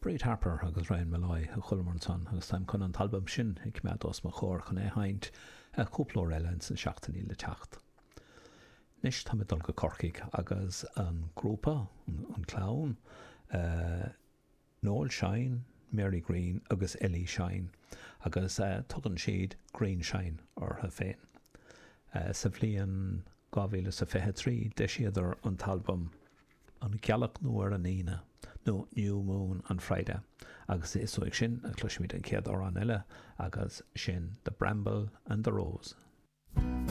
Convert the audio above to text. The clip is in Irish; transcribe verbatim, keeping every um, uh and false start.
Bríd Harper agus Ryan Molloy a chualamar ansan agus táim chun an t-albam sin a choimeád os mo chomhair chun é a sheinnt cúpla uair eile ins na seachtainí le teacht. Anois táim ag dul go Corcaigh agus an grúpa, an clann, Noel Shine, Mary Greene agus Ellie Shine agus tugann siad Green Shine orthu féin. Sa bhliain dhá mhíle is a fiche a trí d'eisíodar an t-albam An Ghealach Nua ar an Aoine nó New Moon on Friday agus is uaidh sin a chloisfimid an chéad amhrán eile agus sin The Bramble and the Rose.